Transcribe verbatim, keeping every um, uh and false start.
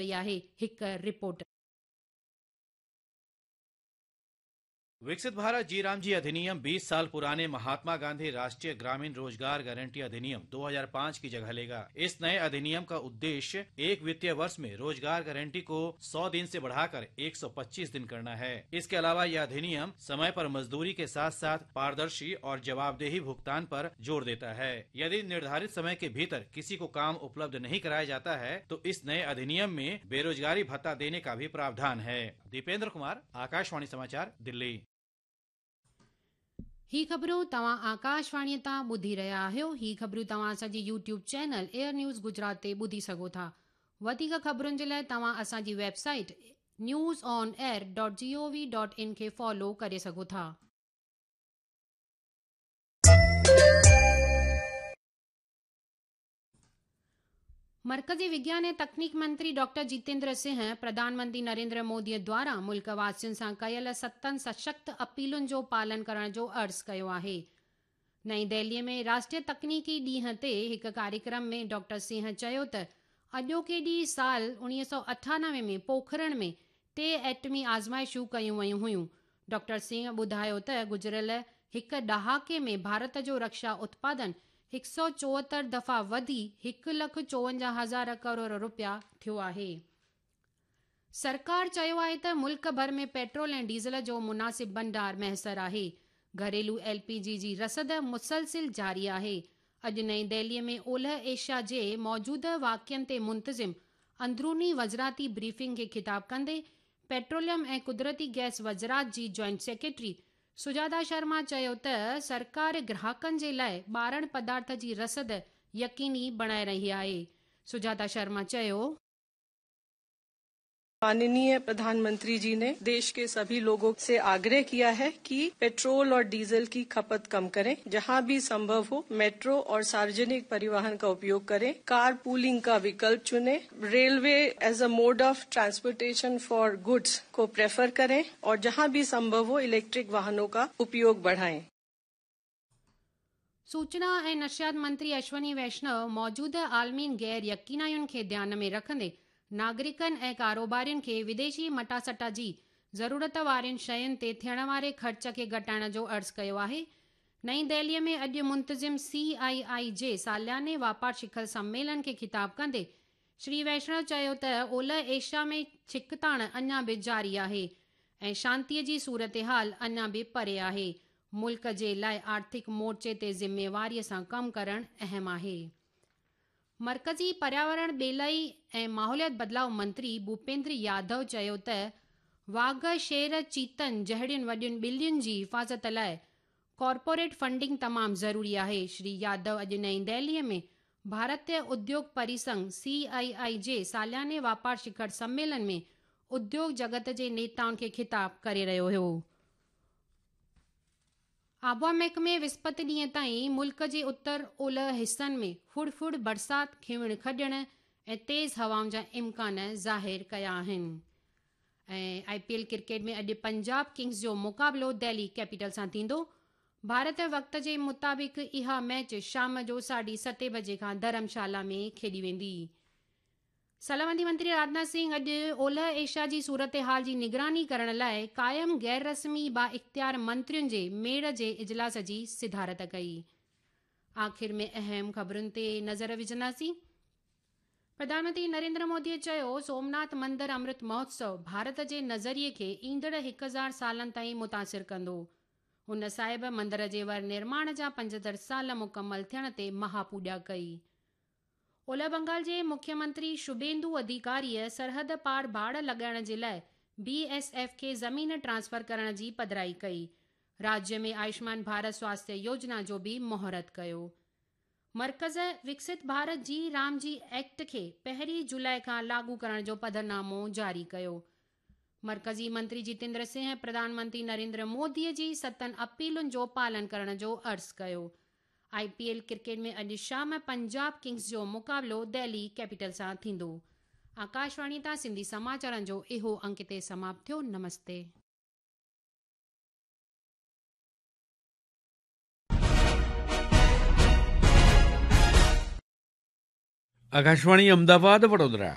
वई आहे। हिकु रिपोर्ट। विकसित भारत जी राम जी अधिनियम बीस साल पुराने महात्मा गांधी राष्ट्रीय ग्रामीण रोजगार गारंटी अधिनियम दो हज़ार पाँच की जगह लेगा। इस नए अधिनियम का उद्देश्य एक वित्तीय वर्ष में रोजगार गारंटी को सौ दिन से बढ़ाकर एक सौ पच्चीस दिन करना है। इसके अलावा यह अधिनियम समय पर मजदूरी के साथ साथ पारदर्शी और जवाबदेही भुगतान पर जोर देता है। यदि निर्धारित समय के भीतर किसी को काम उपलब्ध नहीं कराया जाता है तो इस नए अधिनियम में बेरोजगारी भत्ता देने का भी प्रावधान है। दीपेंद्र कुमार, आकाशवाणी समाचार, दिल्ली। ही ख़बरूं तव्हां आकाशवाणीअ तां ॿुधी रहिया आहियो। ही ख़बरूं तव्हां असांजी YouTube channel Air News Gujarat ते ॿुधी सघो था। वधीक ख़बरुनि जे लाइ तव्हां असांजी website news on air dot G O V dot in खे फॉलो करे सघो था। मरकज़ी विज्ञान ऐं तकनीक मंत्री डॉक्टर जितेंद्र सिंह प्रधानमंत्री नरेंद्र मोदीअ द्वारा मुल्क वासियुनि सां कयल सतनि सशक्त अपीलुनि जो पालन करण जो अर्ज़ु कयो आहे। नई दिल्लीअ में राष्ट्रीय तकनीकी ॾींहं ते हिकु कार्यक्रम में डॉक्टर सिंह चयो त अॼोके ॾींहुं साल उणिवीह सौ अठानवे में पोखरण में टे एटमी आज़माइशूं कयूं वयूं हुयूं। डॉक्टर सिंह ॿुधायो त गुज़िरियल हिकु ॾहाके में भारत जो रक्षा उत्पादन हिकु सौ चोहतरि दफ़ा वधी हिकु लख चोवंजाह हज़ार करोड़ रुपया थियो आहे। सरकार चयो आहे त मुल्क भर में पेट्रोल ऐं डीज़ल जो मुनासिब भंडार मयसर आहे। घरेलू एल पी जी जी रसद मुसलसिल जारी आहे। अॼु नई दिल्लीअ में ओलह एशिया जे मौजूदा वाक़िअनि ते मुंतज़िम अंदरूनी वज़राती ब्रीफिंग खे ख़िताब कंदे पेट्रोलियम ऐं कुदरती गैस वज़रात जी जॉइंट सेक्रेटरी सुजाता शर्मा चयो त सरकार ग्राहकनि जे लाइ ॿारण पदार्थ जी रसद यकीनी बणाए रही आहे। सुजाता शर्मा चयो, माननीय प्रधानमंत्री जी ने देश के सभी लोगों से आग्रह किया है कि पेट्रोल और डीजल की खपत कम करें, जहां भी संभव हो मेट्रो और सार्वजनिक परिवहन का उपयोग करें, कार पूलिंग का विकल्प चुनें, railway as a mode of transportation for goods को प्रेफर करें और जहां भी संभव हो इलेक्ट्रिक वाहनों का उपयोग बढ़ाएं। सूचना ऐं नशियात मंत्री अश्वनी वैष्णव मौजूदा आलमी गैर यकीनायुनि खे ध्यान में रखंदे नागरिकनि ऐं कारोबारियुनि खे विदेशी मटासटा जी ज़रूरत वारियुनि शयुनि ते थियण वारे ख़र्च खे घटाइण जो अर्ज़ु कयो आहे। नई दिल्लीअ में अॼु मुंतज़िम सी आई आई जे सालियाने वापार शिखर सम्मेलन खे ख़िताब कंदे श्री वैष्णव चयो त ओलह एशिया में छिकताण अञा बि जारी आहे ऐं शांतीअ जी सूरत हाल अञा बि परे आहे। मुल्क जे लाइ आर्थिक मोर्चे ते ज़िम्मेवारीअ सां कमु करणु अहम आहे। मरकज़ी पर्यावरण ॿेलाई ऐं माहौलियात बदिलाव मंत्री भूपेंद्र यादव चयो त वाघ, शेर, चीतन जहिड़ियुनि वॾियुनि ॿिलियुनि जी हिफाज़त लाइ कॉर्पोरेट फंडिंग तमामु ज़रूरी आहे। श्री यादव अॼु नई दिल्लीअ में भारतीय उद्योग परिसंघ सी आई आई जे सालियाने वापार शिखर सम्मेलन में उद्योग जगत जे नेताउनि खे ख़िताब करे रहियो हुयो। आबहावा महकमे विस्पति ॾींहं ताईं मुल्क जे उत्तर ओलह हिसनि में फुड़फुड़ बरसाति, खिवण खॾण ऐं तेज़ हवाउनि जा इम्कान ज़ाहिर कया आहिनि। ऐं I P L cricket में अॼु पंजाब किंग्स जो मुक़ाबिलो दिल्ली कैपिटल सां थींदो। भारत वक़्त जे मुताबिक़ इहा मैच शाम जो साढे सते बजे खां धर्मशाला में खेॾी वेंदी। सलामती मंत्री राजनाथ सिंह अॼु ओलह एशिया जी सूरत हाल जी निगरानी करण लाइ क़ाइम गैर रस्मी बा इख़्तियार मंत्रियुनि जे मेड़ जे इजलास जी सिदारत कई। आख़िर में अहम ख़बरुनि ते नज़र विझंदासीं। प्रधानमंत्री नरेंद्र मोदीअ चयो, सोमनाथ मंदिर अमृत महोत्सव भारत जे नज़रिए खे ईंदड़ हिकु हज़ार सालनि ताईं मुतासिर कंदो। हुन साहिब मंदिर जे वर निर्माण जा पंजहतरि साल मुकमल थियण ते महापूॼा कई। ओलह बंगाल जे मुख्यमंत्री शुभेंदु अधिकारीअ सरहद पार बाड़ लॻाइण जे लाइ बी एस एफ खे ज़मीन ट्रांसफर करण जी पधराई कई। राज्य में आयुष्मान भारत स्वास्थ्य योजना जो बि मुहूर्त कयो। मरकज़ विकसित भारत जी राम जी एक्ट खे पहिरीं जुलाई खां लागू करण जो पधरनामो जारी कयो। मरकज़ी मंत्री जितेंद्र सिंह प्रधानमंत्री नरेंद्र मोदीअ जी सतनि अपीलुनि जो पालन करण जो अर्ज़ु कयो। I P L cricket में अॼु शाम पंजाब किंग्स जो मुक़ाबिलो दिल्ली कैपिटल सां थींदो। आकाशवाणी तां सिंधी समाचारनि जो इहो अंक ते समाप्त थियो। नमस्ते। आकाशवाणी अमदावाद वडोदरा।